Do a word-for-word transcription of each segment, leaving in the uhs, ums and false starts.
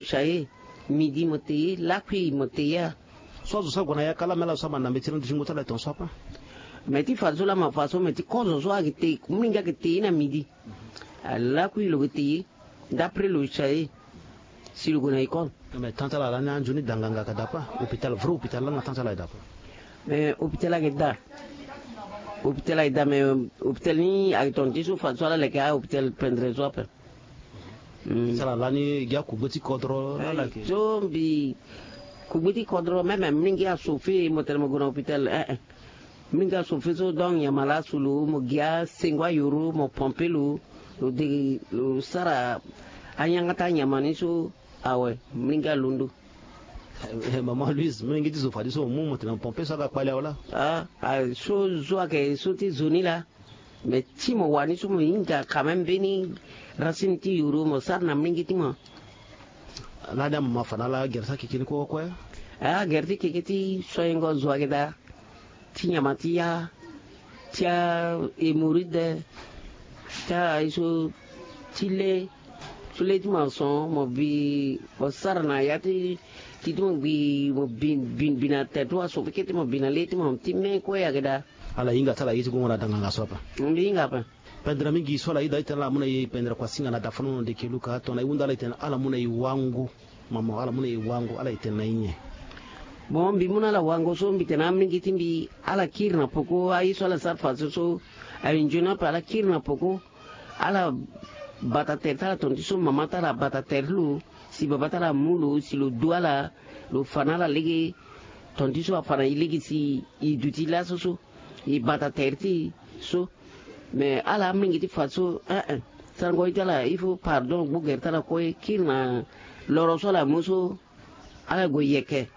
Chaye, midi mo te ye, lakui mo te ye. So azo so ague na yaka la me ala so ama na mbe ti landu ti ngu ti ala e ton so ape. Me ti fa so lama fa so me ti kozo so ayeke te mingi ayeke te ye na midi. Alakui lo ke te ye. D'après lo chaye si lo gue na école. Me tan ti ala lani anzoni danganga ka dape. Hôpital vrai hôpital langa tan ti ala e dape. Me hôpital ayeke daa. Hôpital ayeke daa me hôpital ni ayeke ton ti so fa so ala leke ahôpital pendre so ape. Sara lani gi akugbe ti kodro ala ke so mbi kugbe ti kodro même mingi aso fe mo tene mo gue na hôpital eh eh. Mingi aso fe so donc nyama laa asu lo mo gi asengo ayoro mo pompe lo. Lo de lo sara anyanga ti anyama ni so. Awe mingi alondo. Maman Louise mingi ti zo fadi so mo mu mo tene mo pompe so aga kpali awe laa. Ah so zo ayeke so ti zo ni laa. Mais ti mo wani so mo hinga quand même mbeni racine ti yoro mo sara na mingi ti mo. Lani amama fa na ala gere ti akeke ni kue kue. Agere ti keke ti soingo zo ayeke daa. Ti nyama ti ya ti ahémorroïde ti aye so ti le so le ti mo ason mo bi mo sara na ya ti ti ti mo gbi mo bi bi na tere ti mo ason keke ti mo bi na le ti mo ti me kue ayeke daa. Ala hinga ti ala ye ti gongo na danganga so ape. Mbi hinga ape. Pendere mingi so ala yeda itene ala mu na e pendere kua singa na dafa na ono ndeke luka tongana e hunda ala itene ala mu na e wango. Mama ala mu na e wango ala itene na e nyen? Bon mbi mu na ala wango so mbi tene amingi ti mbi ala kiri na poko aye so ala sara faso so. Aye nzoni ape ala kiri na poko. Ala bata tere ti ala tonga ti so mama ti ala abata tere ti lo. Si baba ti ala amu lo si lo du ala lo fa na ala lege. Tonga ti so afa na e lege si e duti laso so. E bata tere ti e so. Me ala amingi ti fa so eh eh. Sarango ye ti ala il faut pardon gbu gere ti ala kue kiri na loro so ala mu so. Ala gue yeke.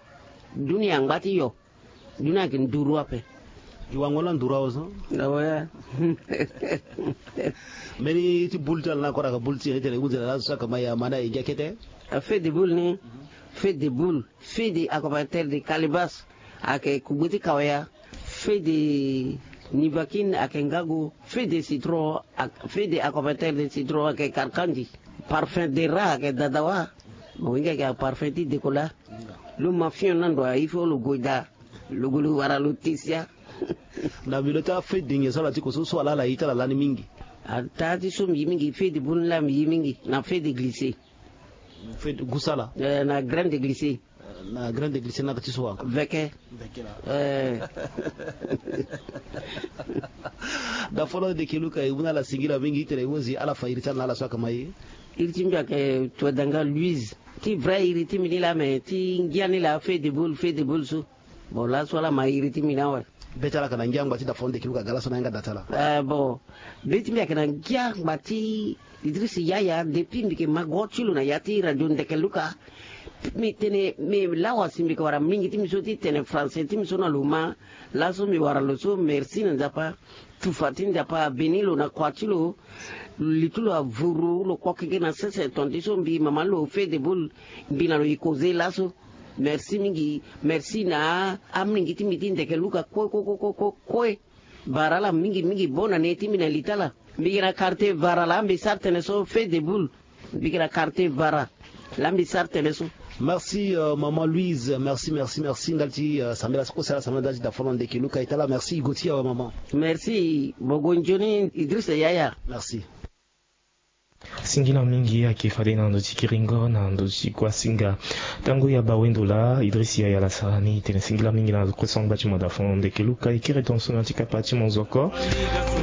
Dunia angba ti yo. Dunia ayeke nduru ape. E wango la nduru awe so. Awe. Mbeni ti boule ti ala na kora ka boule ti e tene hunzi na laso so aka ma ya ma na e ngia kete. Feu de boule ni. Feu de boule. Feu de accompagnateur de calibas. Ayeke kugbe ti kawaya. Feu de nivakine ayeke ngago. Feu de citron. Feu de accompagnateur de citron ayeke karkandi. Parfum de rat ayeke dadawa. Mo hinga ayeke aparfum ti dekola. Lo ma fion na ndo aye fo lo gue daa. Lo gue lo wara lo te sia. Na mbi lo ti afeu de nyen so ala ti ko so so ala ala ye ti ala lani mingi. Ataa ti so mbi ye mingi feu de boule ni laa mbi ye mingi na feu de glisse. Feu de gusala. Na graine de glisse. Na graine de glisse na ka ti so wa. Veke. Dafono de keluka e mu na ala singila mingi itene e hunzi ala fa iri ti ala na ala so aka ma ye. Iri ti mbi ayeke tuadanga luise. Ti vrai iri ti mbi ni laa me ti ngia ni laa feu de boule feu de boule so. Bon laso ala ma iri ti mbi ni awe. Be ti ala ayeke na ngia angba ti dafono de keluka ga laso na yanga da ti ala. Bon. Be ti mbi ayeke na ngia angba ti idris yaya depuis mbi yeke ma go ti lo na ya ti radio ndeke luka. Mbi tene me lawa si mbi yeke wara mingi ti mbi so ti tene français ti mbi so na lo ma. Laso mbi wara lo so merci na nzapa. Tufa ti nzapa abeni lo na kua ti lo. Li ti lo avuru lo kue keke na sese tonga ti so mbi mama lo feu de boule. Mbi na lo e koze laso. Merci mingi. Merci na amingi ti mbi ti ndeke luka kue kue kue kue kue. Bara ala mingi mingi bona ne ti mbi na li ti ala. Mbi yeke na quartier vara laa mbi sara tene so feu de boule. Mbi yeke na quartier vara laa mbi sara tene so. Merci maman louise merci merci merci ndali ti sambela so kue sara sambela ndali ti dafono ndeke luka e tala merci e go ti awe maman. Merci bogo nzoni idrisa yaya. Merci. Singila mingi ayeke fade na ndo ti kiringo na ndo ti kuasinga. Tango ya bawendo laa idris yaya ala sara ni tene singila mingi na kue so angba ti mo dafono ndeke luka e kiri tonso na ti kapa ti monzoko.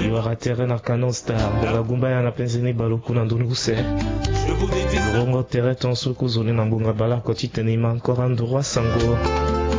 E wara tere na canon star ngonga gumbaya na penze ni baleoku na ndoni use. Rongo tere tonso kozoni na ngonga baleoko ti tene e ma ankora nduru asango.